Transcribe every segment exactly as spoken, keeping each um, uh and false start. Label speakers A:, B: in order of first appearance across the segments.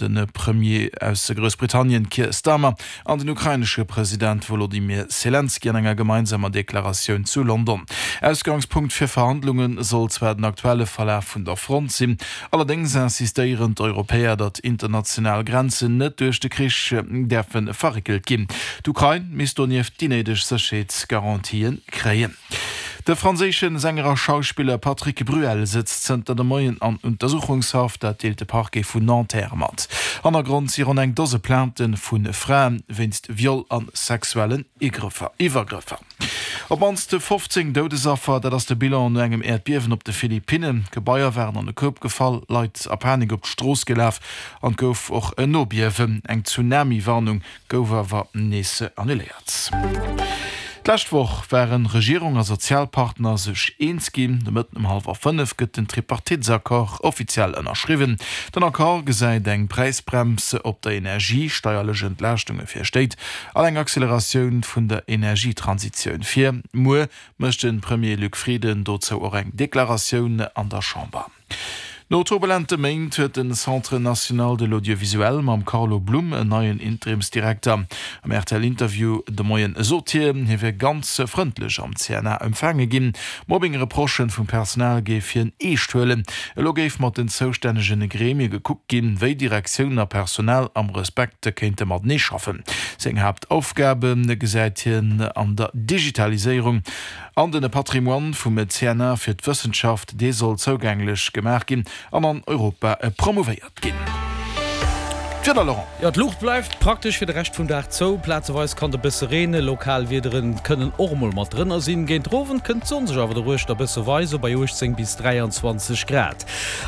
A: De Premier aus Groussbritannien Keir Starmer an den ukrainesche President Wolodymyr Selenskyj an enger gemeinsamer Deklaratioun zu London. Ausgangspunkt fir Verhandlunge soll zwar den aktuelle Verlaf vun der Front sinn, allerdéngs insistéieren d'Europäer, datt international Grenzen net duerch de Krich däerfe verréckelt ginn. D'Ukrain misst donieft déi néideg Sécherheetsgarantië kréien. De franséische Sänger a Schauspiller Patrick Bruel sëtzt zënter de Moien an Untersuchungshaft, dat deelt de Parquet vun Nanterre mat. Hannergrond si ronn eng Dose Plaintë vu Frae wéinst Viol a sexuellen Iwwergrëffer. Op d'mannst fofzéng Doudesaffer, dat ass de Bilan no engem Äerdbiewen op de Philippinnen. Gebaier waren an e Koup gefall, Leit a Panik op d'Strooss gelaf an et gouf och en Nobiewen. Eng Tsunami-Warnung gouf awer nees annuléiert. D'lescht Woch ware Regierung a Sozialpartner sech eens ginn. De Mëtten um hallwer fënnef gëtt den Tripartitesaccord offiziell ënnerschriwwen. Den Accord gesäit eng Präisbrems op der Energie, steierlech Entlaaschtunge fir Stéit an eng Acceleratioun vun der Energietransitioun vir. Muer mécht de Premier Luc Frieden dozou och eng Deklaratioun an der Chamber. No turbulente Méint huet den Centre national de l'audiovisuel mam Carlo Blum en neien Interimsdirekter. Am R T L-Interview de Moien sot hien, hie wier ganz frëndlech am C N A empfaange ginn. Mobbing-Reprochë vum Personal géif hien eescht huelen. Elo géif mat den zoustännege Gremie gekuckt ginn, wéi Direktioun a Personal am Respekt kéinte matenee schaffen. Seng Haaptaufgabe gesäit hien an der Digitaliséierung an de Patrimoine vum C N A fir d'Wëssenschaft, dee soll zougänglech gemaach ginn an an Europa promouvéiert ginn. D'Wieder, Laurent.
B: Jo, d'Luucht bleift praktesch fir de Rescht vum Dag zou. Plazeweis kann et e bësse reenen, lokal Wiederen kënnen och emol mat drënner sinn. Géint den Owend kënnt d'Sonn sech awer doruechter e bësse weisen, bei uechtzéng bis dräianzwanzeg Grad.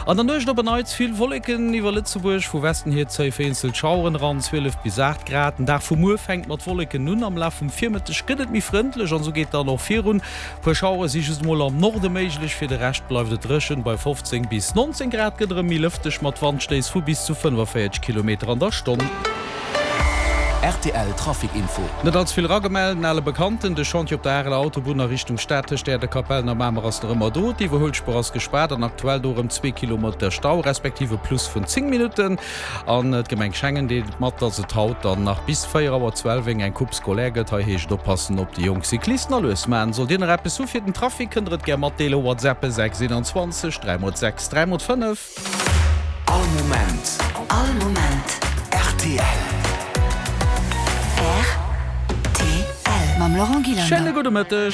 B: An der Nuecht op en Neits vill Wolleken iwwer Lëtzebuerg, vu Westen hier zéie vereenzelt Schaueren eran, zwielef bis aacht Grad. Den Dag vu muer fänkt mat Wolleken un, am Laf vum Virmëtteg gëtt et méi frëndlech an esou geet dann och virun. Puer Schauere si just emol am Norde méiglech, fir de Rescht bleift et dréchen. Bei fofzéng bis nonzéng Grad gëtt erëm méi lëfteg mat Wandstéiss vu bis zu fënnefavéierzeg Kilometer an der Stonn.
C: R T L Trafic Info.
B: Net allze vill eragemellt, en ale Bekannten, de Chantier op der Areler Autobunn a Richtung Stad tëscht Äerdekapellen a Mamer ass nach ëmmer do. D'Iwwerhuelspuer ass gespaart an aktuell do erëm zwee Kilometer Stau, respektiv e Plus vun zéng Minutten. An d'Gemeng Schengen deelt mat, dass et haut dann nach bis véier Auer zwielweng eng Coupe scolaire gëtt. Hei heescht et oppassen op déi jonk Cyclisten a lues maachen. Sollt Dir nach eppes hu fir den Trafic, kënnt der et gär matdeelen, WhatsApp sechs eenanzwanzeg dräi mol sechs dräi mol fënnef.
C: All Moment.
D: All Moment.
C: R T L.
D: R T L. Mam Laurent Gillander.
B: Schéine gudde Mëtteg.